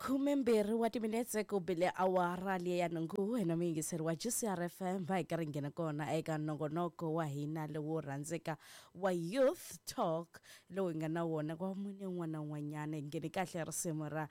Khumembirhi wa timinetse ku bile awara liya ya nhungu, wena muyingiseri wa GCR FM, va hi karhi nghena kona eka nongonoko wa hina lowo rhandzeka wa Youth Talk lowu hi nga na wona kwa mune un'wana na un'wanyana. Hi nghene kahle risimu ra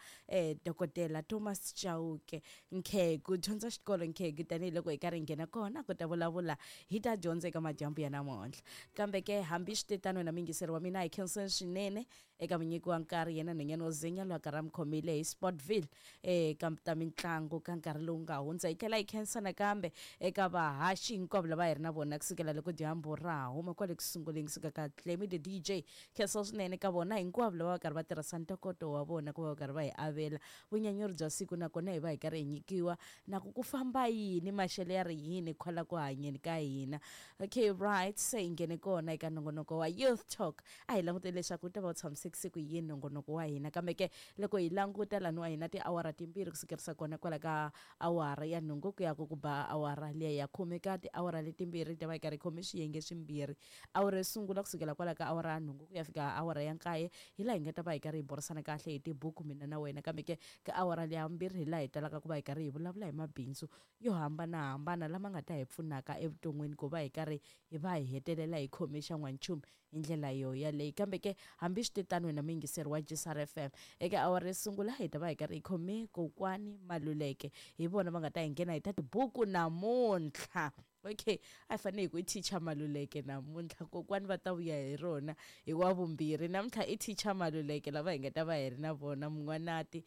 dokodela Thomas Chauke Nkhegu, dyondza xikolo Nkhegu, tanihiloko hi karhi hi nghena kona ku ta vulavula hi ta dyondza eka madyambu ya namuntlha. Kambe ke hambi swi te tano, wena muyingiseri wa mina, hi khenseni swinene eka munyiki wa nkarhi, yena nhwanyana wo zinya loyi a karhi a mi khomile hi Sportville eka ta mitlangu ka nkarhi lowu nga hundza. Hi tlhela hi khensa nakambe eka vahaxi hinkwavo lava hi ri na vona kusukela loko dyambu ra ha huma kwale ku sunguleni, kusuka ka Clemmy the DJ. Khensa swinene ka vona hinkwavo lava va karhi va tirhisa ntokoto wa vona ku va va karhi va hi avela vunyanyuri bya siku, nakona hi va hi karhi hi nyikiwa na ku ku famba yini, maxelo ya ri yini kwala ku hanyeni ka hina. Okay, right, se hi nghene kona eka nongonoko wa Youth Talk. A hi languteli leswaku wu ta va wu tshamisekise ku yini nongonoko wa hina, kambe ke loko hi languta laniwa hi na tiawara timbirhi kusukerisa kona kwala ka awara ya nhungu ku ya ku ku ba awara liya ya khume. Ka tiawara letimbirhi hi ta va hi karhi hi khome swiyenge swimbirhi. Awara yo sungula kusukela kwala ka awara ya nhungu ku ya fika awara ya nkaye hi laha hi nga ta va hi karhi hi burisana kahle hi tibuku mina na wena, kambe ke ka awara liya vumbirhi hi laha hi talaka ku va hi karhi hi vulavula hi mabindzu yo hambanahambana lama nga ta hi pfunaka evuton'wini ku va hi karhi hi va hi hetelela hi khome xa n'wanchumu hi ndlela yo yaleyi. Kambe ke hambi swi te tano, wena muyingiseri wa GCR FM, eka awara yo sungula hi ta va hi karhi hi khome kokwani Maluleke, hi vona va nga ta hi nghena hi ta tibuku namuntlha. Okay, a hi fanele hi ku i teacher Maluleke namuntlha, kokwani va ta vuya hi rona hi wa vumbirhi. Namuntlha i teacher Maluleke lava hi nga ta va hi ri na vona mun'wanati,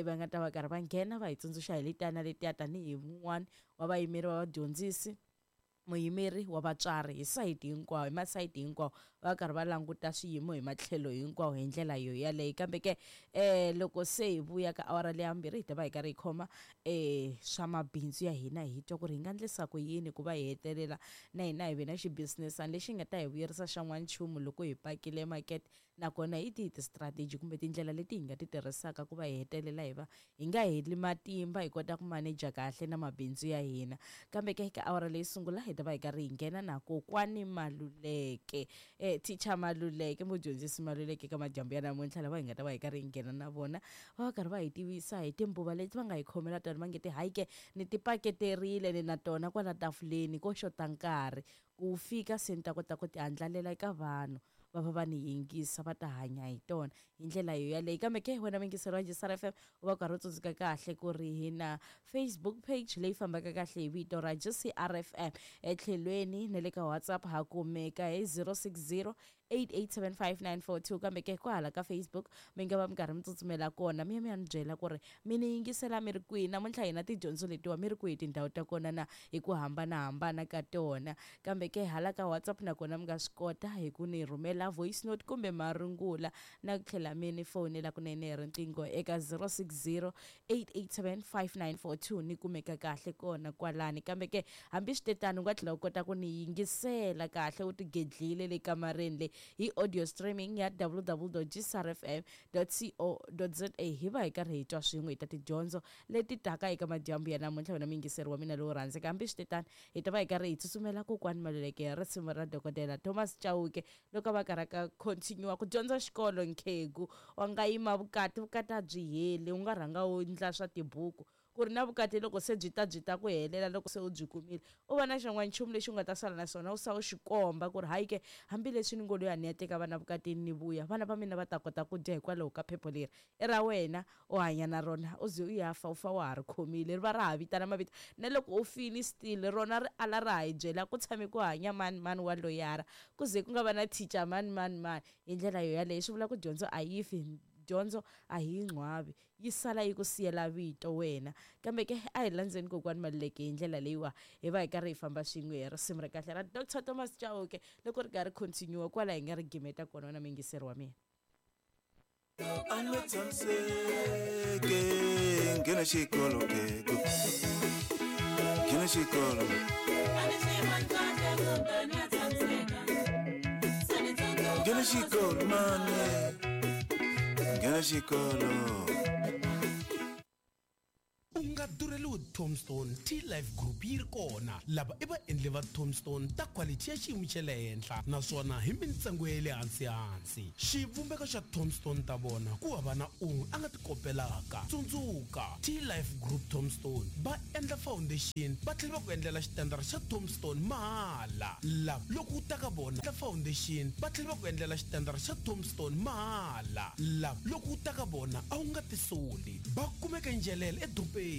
va nga ta va karhi va nghena va hi tsundzuxa hi letiya na letiya tanihi wun'wana wa vayimeri va vadyondzisi, muyimeri wa vatswari hi sayiti hinkwawo, hi masayiti hinkwawo, va karhi va languta swiyimo hi matlhelo hinkwawo hi ndlela yo yaleyo. Kambe ke loko se hi vuya ka awara leya vumbirhi hi ta va hi karhi hi khoma swa mabindzu ya hina, hi twa ku ri hi nga endlisa ku yini ku va hi hetelela na hina hi ve na xibizinesana lexi nga ta hi vuyerisa xa n'wanchumu loko hi pakile makete, nakona hi tihi ti-strategy kumbe tindlela leti hi nga ti tirhisaka ku va hi hetelela hi va hi nga heli matimba, hi kota ku maneja kahle na mabindzu ya hina. Kambe ke ka awara leyi sungula hi ta va hi karhi hi nghena na kokwani Maluleke, teacher Maluleke, mudyondzisi Maluleke ka madyambu ya namuntlha, lava hi nga ta va hi karhi hi nghena na vona va va karhi va hi tivisa hi timbuva leti va nga hi khomela tona, va nge ti hayi ke ni ti paketerile ni na tona kwala tafuleni ko xota nkarhi ku fika se ni ta kota ku ti andlalela eka vanhu va va va ni yingisa, va ta hanya hi tona hi ndlela yo yaleyo. Kambe ke wena muyingiseri wa GCR FM, u va u karhi u tsundzuka kahle ku ri hi na Facebook page leyi fambaka kahle hi vito ra GCR FM, etlhelweni na le ka WhatsApp ha kumeka hi 060 8875942. Kambe ke kwahala ka Facebook mi nga va mi karhi mi tsutsumela kona mi ya mi ya ni byela ku ri mi ni yingisela mi ri kwihi namuntlha, hina tidyondzo letiwa mi ri kwihi tindhawu ta kona na hi ku hambanahambana ka tona. Kambe ke hala ka WhatsApp nakona mi nga swi kota hi ku ni rhumela voice note kumbe marungula na ku tlhela mi ni fonela kunene hi riqingho eka 060 8875942, ni kumeka kahle kona kwalani. Kambe ke hambi swi te tano, u nga tlhela u kota ku ni yingisela kahle u tigedlile le kamareni le hi audio streaming ya www.gcrfm.co.za, hi va hi karhi hi twa swin'we hi ta tidyondzo leti taka eka madyambu ya namuntlha, wena muyingiseri wa mina lowo rhandzeka. Hambi swi te tano, hi ta va hi karhi hi tsutsumela kokwani Maluleke hi risimu ra dokodela Thomas Chauke loko a va karhi ka continue ku dyondza xikolo. Nkhegu wa nga yima vukati, vukati a byi heli, u nga rhanga u endla swa tibuku ku ri na vukati loko se byi ta byi ta ku helela, loko se u byi kumile u va na xin'wana nchumu lexi u nga ta sala na swona, u sa u xi komba ku ri hayi ke hambileswi ni ngo loyi a ni ya teka vana vukatini ni vuya, vana va mina va ta kota ku dya hikwalaho ka phepho leri i ra wena, u hanya na rona u ze u ya fa, u fa wa ha ri khomile, ri va ra ha vitana mavito na loko u fini still rona ri ala ra ha yi byela ku tshame ku hanya mani mani wa loyara, ku ze ku nga va na teacher mani mani mani. Hi ndlela yo yaleyo swi vula ku dyondzo a yi fi, dyondzo a hi yi ngcwavi, yi sala yi ku siyela vito wena. Kambe ke a hi landzeni kokwani Maluleke hi ndlela leyiwa, hi va hi karhi hi famba swin'we hi risimu ra kahle ra Doctor Thomas Chauke loko ri karhi continue kwala hi nga ri gimeta kona, wena muyingiseri wa mina. A nga tshamiseke, nghena xikolo kego, nghena xikolo. Nghena xikolo mane, nghena xikolo. U nga durheliwi tombstone. T-Life Group yi ri kona. Lava i vaendli va tombstone ta quality ya xiyimo xa le henhla, naswona hi mintsengo ya le hansi-hansi. Xivumbeko xa tombstone ta vona ku hava na un'we a nga ti kopelaka. Tsundzuka, T-Life Group tombstone va endla foundation, va tlhela va ku endlela xitandara xa tombstone mahala. Lava loko u ta ka vona endla foundation, va tlhela va ku endlela xitandara xa tombstone mahala. Lava loko u ta ka vona a wu nga tisoli. Va kumeka Njelele edorobeni.